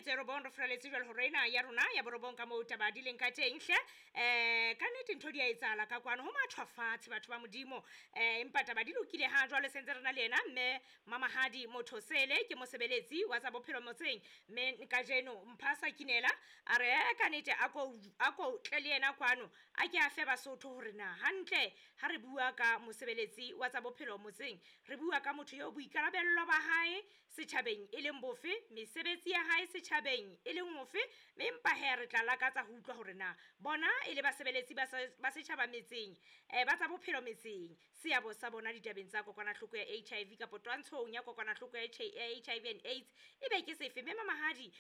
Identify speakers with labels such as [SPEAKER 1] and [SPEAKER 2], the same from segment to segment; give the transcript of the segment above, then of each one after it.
[SPEAKER 1] metso e robong re furaletse jwale hore ena ya rona ya borobong ka moo taba di leng ka teng hle. Ka nnete ntho di a etsahala ka kwano, ho mathwa fatshe batho ba Modimo. Empa taba di lokile ha jwale sentse re na le yena mme Mamahadi Mothosele, ke mosebeletsi wa tsa bophelo motseng. Mme kajeno Mphasa Kinela a re ka nnete a ko tle le yena kwano, a ke a fe Basotho hore na hantle ha re bua ka mosebeletsi wa tsa bophelo motseng, re bua ka motho eo boikarabello ba hae setjhabeng e leng bofe, mesebetsi ya hae setjhabeng e leng ofe. Mme empa he re tla lakatsa ho utlwa hore na bona e le basebeletsi ba setjhaba metseng, ba tsa bophelo metseng, seabo sa bona ditabeng tsa kokwanahloko ya HIV kapa twantshong ya kokwanahloko ya HIV and AIDS e be ke sefe. Mme Mamahadi,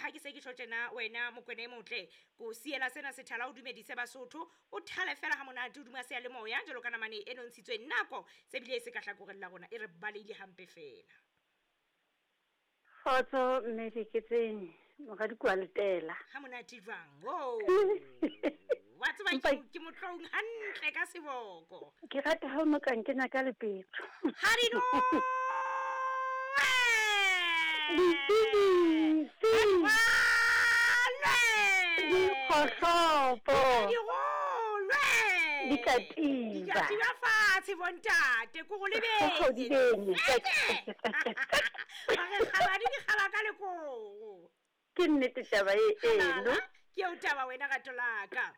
[SPEAKER 1] ha ke se ke tjho tjena wena Mokwena e motle, ko siela sena sethala o dumedise Basotho, o thale fela ha monate hodima seyalemoya jwalo ka namane e nontshitsweng nako se bile e se ka hlakoreng la rona e re baleile hampe fela.
[SPEAKER 2] Kgotso mme Diketseng, moradi kwa letela.
[SPEAKER 1] Ha monate jwang? Oh. Wa tseba ke motloung hantle ka seboko.
[SPEAKER 2] Ke rata ha o no ka nkena ka lepetjo.
[SPEAKER 1] Ha di no.
[SPEAKER 2] Dikgohlopo.
[SPEAKER 1] Dirolwe.
[SPEAKER 2] Dikatiba.
[SPEAKER 1] Dikatiba fatshe bontate, ko go lebeng. Ba re kgaba di dikgaba ka lekoko.
[SPEAKER 2] Ke nnete taba e eno.
[SPEAKER 1] Ke eo taba wena rato la ka.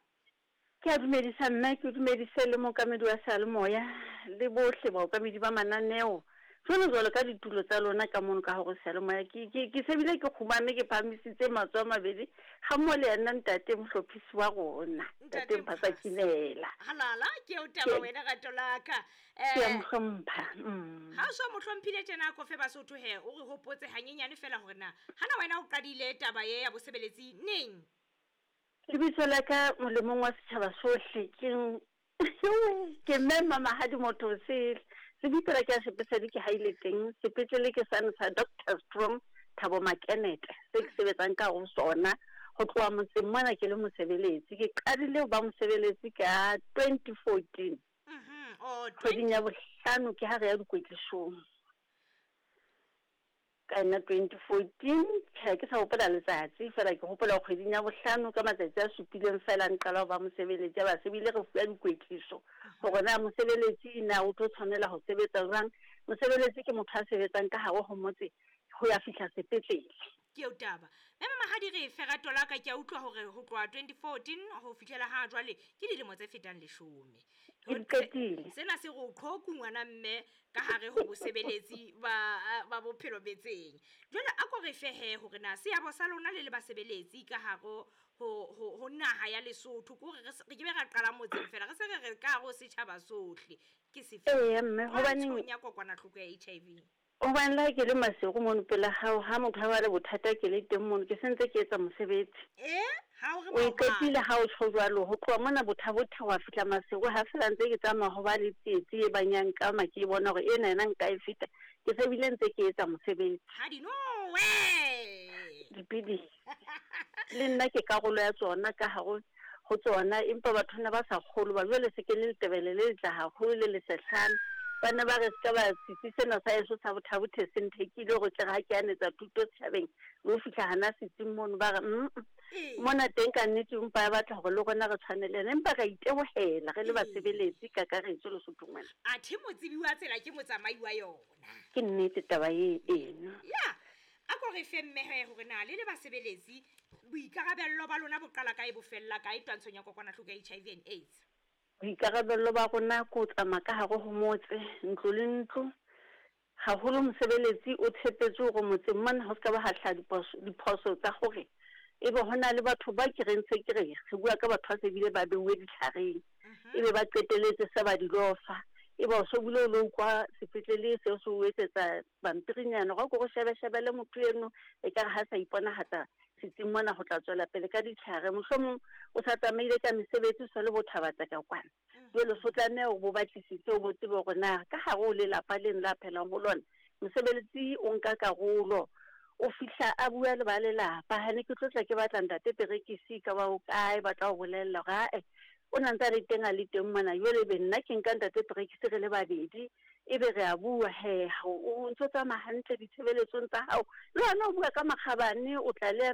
[SPEAKER 2] Ke a dumedisa mme, ke dumedise le mookamedi wa seyalemoya le bohle baokamedi ba mananeo. Jwalo jwalo ka ditulo tsa lona ka mono ka hore seyalemoya. Ke se bile ke kgumame ke phahamisitse matsoho a mabedi ga mmoho le yena ntate mohlophisi wa rona, ntate Mphasa Kinela.
[SPEAKER 1] Halala, ke eo taba wena rato la ka.
[SPEAKER 2] Ke a mo hlompha.
[SPEAKER 1] Ha o so mo hlomphile tjena ko fe Basotho he, o re hopotse hanyenyane fela hore na hana wena o qadile taba ye ya bosebeletsi neng?
[SPEAKER 2] Lebitso la ka molemong wa setjhaba sohle ke mme Mamahadi Mothosele. Lebitso la ka sepesadi ke haile teng, sepetlele ke sane sa Dr. Strong Thabo Makenete, se ke sebetsang ka ho sona ho tloha motseng mona ke le mosebeletsi. Ke qadile ho ba mosebeletsi ka 2014. Kgweding ya bohlano ke ha re ya dikwetlisong. Ka yona 2014, tjhe ke sa hopola letsatsi fela, ke hopola kgweding ya bohlano ka matsatsi a supileng fela nqala ho ba mosebeletsi. Ya ba se bile re fuwa dikwetliso hore na mosebeletsi na o tlo tshwanela ho sebetsa jwang. Mosebeletsi ke motho a sebetsang ka hare ho motse ho ya fihla sepetlele.
[SPEAKER 1] Ke eo taba. Mme Mamahadi re fe rato la ka, ke a utlwa hore ho tloha 2014 ho fihlela ha jwale ke dilemo tse fetang 10.
[SPEAKER 2] Ke di qetile.
[SPEAKER 1] Sena se re o qhoku ngwana mme ka hare ho bosebeletsi ba bophelo metseng. Jwale a ko re fe he hore na seabo sa lona le le basebeletsi ka hare ho naha ya Lesotho, ke hore re ke be ra qala motseng fela, re se re re ka hare ho setjhaba sohle. Ke sefe?
[SPEAKER 2] Ee, mme, hobaneng
[SPEAKER 1] Twantshong ya kokwanahloko ya HIV.
[SPEAKER 2] Hobane le ha ke le Maseru mono pela hao, ha motho a ba le bothata ke le teng mono, ke sentse ke etsa mosebetsi.
[SPEAKER 1] Ha o re
[SPEAKER 2] O e
[SPEAKER 1] maobane.
[SPEAKER 2] qetile ha o tjho jwalo, ho tloha mona Botha-Bothe wa fihla Maseru, ha fela ntse ke tsamaya ho ba le tsietsi e bang ya nkama, ke bona hore ena yena nka e feta, ke se bile ntse ke etsa mosebetsi.
[SPEAKER 1] Ha di nowe.
[SPEAKER 2] Dipidisi. Le nna ke karolo ya tsona ka hare ho tsona, empa batho ne ba sa kgolwe, ba jwale se ke le letebele le letla haholo le lesehlana. Ba ne ba re se ka ba setsi sena sa heso sa Botha-Bothe se nthekile hore tle re ha ke anetsa thuto setjhabeng, le ho fihla hana setsing mono, ba re, mona teng ka nnete empa ya batla hore le rona re tshwane le yena, empa re a itebohela re le basebeletsi kakaretso Lesothong mona.
[SPEAKER 1] Athe motsebi wa tsela ke motsamai wa yona.
[SPEAKER 2] Ke nnete taba e eno.
[SPEAKER 1] Ya, a ko re fe mmehe hore na le le basebeletsi boikarabello ba lona bo qala kae bo fella kae twantshong ya kokwanahloko ya HIV and AIDS?
[SPEAKER 2] Boikarabello ba rona ke ho tsamaya ka hare ho motse, ntlo le ntlo. Haholo mosebeletsi o tshepetse hore motseng mona ho se ka ba ha hlaha diphoso tsa hore ebe ho na le batho ba ke reng se ke re re bua ka batho ba se bile ba beuwe ditlhareng, ebe ba qeteletse se ba di lofa, ebe o so bile o lo utlwa sepetlele seo se o etsetsa pampirinyana hore o ko shebe-shebele motho eno, ekare ha sa iponahatsa setsing mona ho tla tswela pele ka ditlhare. Mohlomong o sa tsamaile ka mesebetsi, o sa le bothabatsa ka kwana. Jwale so tlameha hore bo batlisise, o bo tsebe hore na ka hare ho lelapa leno la phelang ho lona, mosebeletsi o nka karolo, o fihla a bua le ba lelapa. Ha ne ke tlo tla ke batla ntate Perekisi ka ba o kae, ba tla o bolella hore ae o na ntse a le teng, a le teng mona. Jwale ebe nna ke nka ntate Perekisi re le babedi, ebe re a bua he, o ntso tsamaya hantle ditshebeletsong tsa hao, le hona o bua ka makgabane, o tla le